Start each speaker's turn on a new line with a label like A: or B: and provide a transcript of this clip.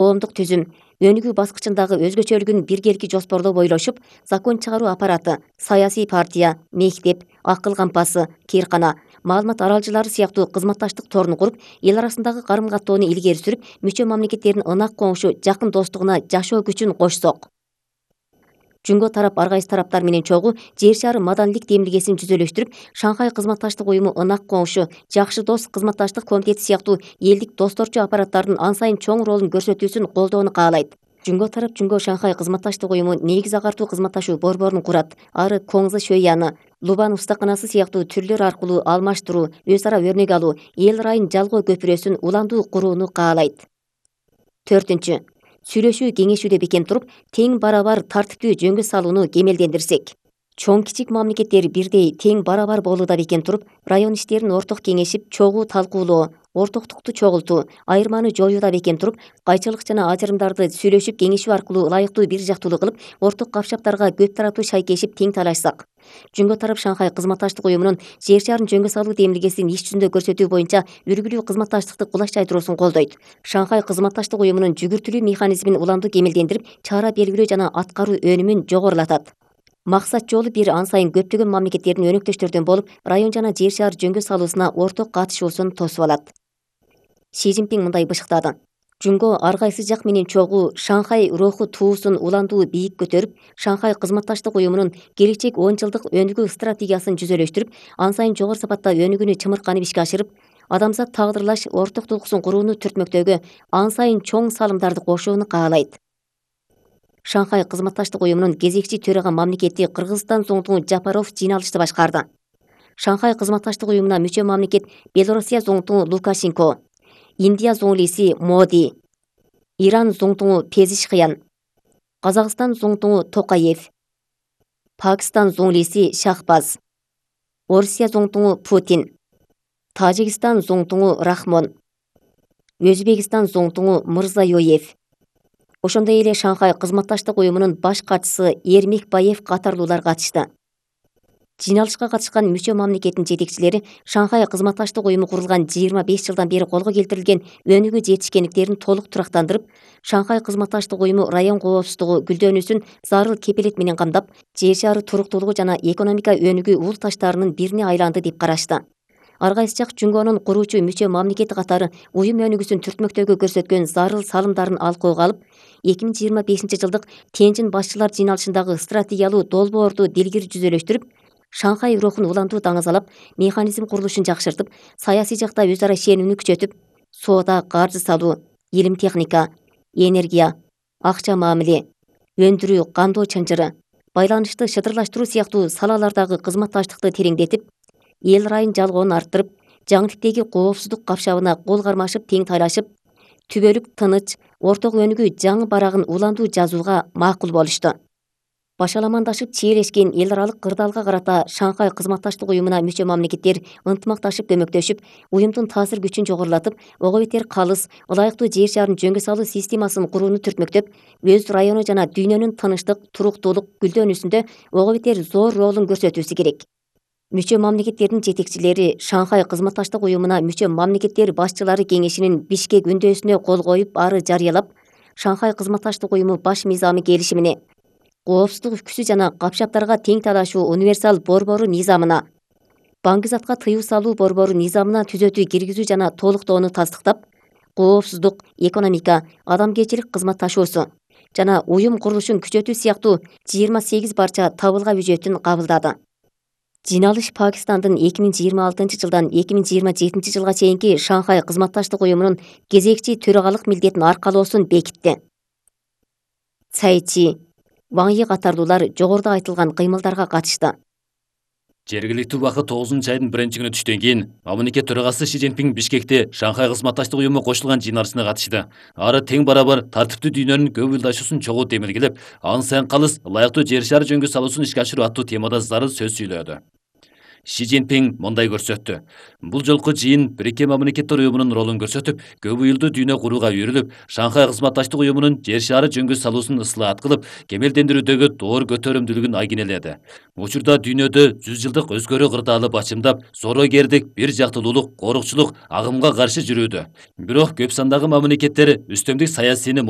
A: коомдук түзүм, өнүгүү баскычындагы өзгөчөлүгүн биргелики жоспордоо бойлошуп, закон чыгаруу аппараты, саясий партия, мектеп, акыл кампасы, кыйркана, маалымат аралжылары сыяктуу кызматташтык торун куруп, эл арасындагы карым-каттоону илгери сүрүп, мүчө мамлекеттердин ынак коңшу, жакын достугуна жашоо күчүн кошсок. Жөнгө тарап ар кайсы тараптар менен чогуу жер шары маданилик демилгесин жүзөлөштүрүп, Шанхай кызматташтык уюму ынак коңшу, жакшы дос кызматташтык комитети сыяктуу элдик досторчу аппараттардын ан сайын чоң ролун көрсөтүүсүн колдоону каалайт. Жөнгө тарап Жөнгө Шанхай кызматташтык уюму негиз агартуу кызматташуу борборун курат. Ары Коңзы Шөйяны, Лубан устаканасы сыяктуу түрлөр аркылуу алмаштыруу, өз ара өрнөк алуу, эл ырайын жалгоо көпүрөсүн уландуу курууну каалайт. 4. Сүйлөшүү кеңешүүдө бекем туруп, тең барабар тартиптүү жөнгө салууну кемелдендирсек. Чоң кичик мамлекеттер бирдей тең барабар болууда бекем туруп, район иштерин орток кеңешип, чогуу талкуулоо, ортоктукту чогултуу, айырманы жоюуда бекем туруп, кайчылык жана ажырымдарды сүйлөшүп кеңешүү аркылуу ылайыктуу бир жактуулуу кылып, орток капшаптарга көп тараптуу шайкешип тең талашсак. Жөнгө тарап Шанхай кызматташтык уюмунун жер шарын жөнгө салуу демилгесин иш жүзүндө көрсөтүү боюнча үлгүлүү кызматташтыкты кулаш жайдыруусун колдойт. Шанхай кызматташтык уюмунун жүгүртүлүү механизмин уламдуу кемелдендирип, чара белгилөө жана аткаруу өнүмүн жогорулатат. Максат жолу бир ан сайын көптөгөн мамлекеттердин өнөктөштөрдөн болуп, район жана жер шаар жөнгө салуусуна орток катышуусун тосуп алат. Си Цзиньпин мындай бышыктады. Жөнгө ар кайсы жак менен чогуу Шанхай руху туусун уландуу бийик көтөрүп, Шанхай кызматташтык уюмунун келечек 10 жылдык өнүгүү стратегиясын жүзөлөштүрүп, ан сайын жогору сапатта өнүгүүнү чымырканып ишке ашырып, адамзат тагдырлаш орток туйгусун курууну түртмөктөгө ан сайын чоң салымдарды кошууну каалайт. Шанхай кызматташтык уюмунун кезекчи төрага мамлекети Кыргызстан зоңтуңу Жапаров жыйналышты башкарды. Шанхай кызматташтык уюмуна мүчө мамлекет Белоруссия зоңтуңу Лукашенко, Индия зоңлиси Моди, Иран зоңтуңу Пезишкиян, Казакстан зоңтуңу Токаев, Пакистан зоңлиси Шахбаз, Орусия зоңтуңу Путин, Тажикстан зоңтуңу Рахмон, Өзбекистан зоңтуңу Мырзайоев, ошондой эле Шанхай кызматташтык уюмунун баш катчысы Эрмекбаев катарлуулар катышты. Жыйналышка катышкан мүчө мамлекеттин жетекчилери Шанхай кызматташтык уюму курулган 25 жылдан бери колго келтирилген өнүгүү жетишкендиктерин толук турактандырып, Шанхай кызматташтык уюму район коопсуздугу гүлдөнүүсүн зарыл кепилет менен камдап, жер шары туруктуулугу жана экономика өнүгүү ул таштарынын бирине айланды деп карашты. Ар кайсы жак Жөнгөнүн куруучу мүчө мамлекети катары уюм өнүгүүсүн түртмөктөөгө көрсөткөн зарыл салымдарын алкоого алып, 2025 жылдык Тенжин башчылар жыйналышындагы стратегиялуу долбоорду дилгири жүзөлөштүрүп, Шанхай рухун уландуу таңазалап, механизм курулушун жакшыртып, саясий жакта өз ара ишенимини күчөтүп, соода, каржы салуу, илим техника, энергия, акча мамиле, өндүрүү, кандоо чынжыры, байланышты шыдырлаштыруу сыяктуу салалардагы кызматташтыкты тереңдетип, эл ырайын жалгоонун арттырып, жаңы типтеги коопсуздук капшабына кол кармашып тең тайлашып, түбөлүк тыныч, орток өнүгүү жаңы барагын уландуу жазууга макул болушту. Башаламандашып чиелешкен эл аралык кырдаалга карата Шанхай кызматташтык уюмуна мүчө мамлекеттер ынтымакташып көмөктөшүп, уюмдун таасир күчүн жогорулатып, ого бетер калыс, ылайыктуу жер шарын жөнгө салуу системасын курууну түртмөктөп, өз району жана дүйнөнүн тынчтык, туруктуулук гүлдөнүүсүндө ого бетер зор ролун көрсөтүүсү керек. Мүчө мамлекеттердин жетекчилери Шанхай кызматташтык уюмуна мүчө мамлекеттер башчылары кеңешинин Бишкек үндөөсүнө кол коюп, ары жарыялап, Шанхай кызматташтык уюму баш мыйзамы келишимине, коопсуздук үкүсү жана капшаптарга тең талашуу универсал борбору мыйзамына, баңгизатка тыюу салуу борбору мыйзамына түзөтүү киргизүү жана толуктоону тастыктап, коопсуздук, экономика, адамгерчилик кызматташуусу жана уюм курулушун күчөтүү сыяктуу 28 барча табылга бюджетин кабылдады. Жыйналыш Пакистандын 2026 жылдан 2027 жылга чейинки Шанхай кызматташтык уюмунун кезекчи төрагалык милдетин аркалоосун бекитти. Цай Чи, Ваң Йи катарлуулар жогоруда айтылган кыймылдарга катышты.
B: Жергиликтүү убакыт 9 айдын 1-күнү түштөн кийин мамлекет төрагасы Си Цзиньпин Бишкекте Шанхай кызматташтык уюму кошулган жыйналышына катышты. Ары тең барабар тартиптүү дүйнөнүн көп ылдашуусун чогуу демилгелеп, ан сайын калыс, ылайыктуу жер шары жөнгө салуусун ишке ашыруу аттуу темада зарыл сөз сүйлөдү. Си Цзиньпин мындай көрсөттү. Бул жолку жыйын Бириккен мамлекеттер уюмунун ролун көрсөтүп, көп уюлдуу дүйнө курууга үйрүлүп, Шанхай кызматташтык уюмунун жер шары жөнгө салуусун ыслаат кылып, кемелдендирүүдөгү доор көтөрүмдүүлүгүн айгинеледи. Учурда дүйнөдө 100 жылдык өзгөрүү кырдаалы бачымдап, зорогердик, бир жактуулуулук, корукчулук агымга каршы жүрүүдө. Бирок көп сандагы мамлекеттер үстөмдүк саясийни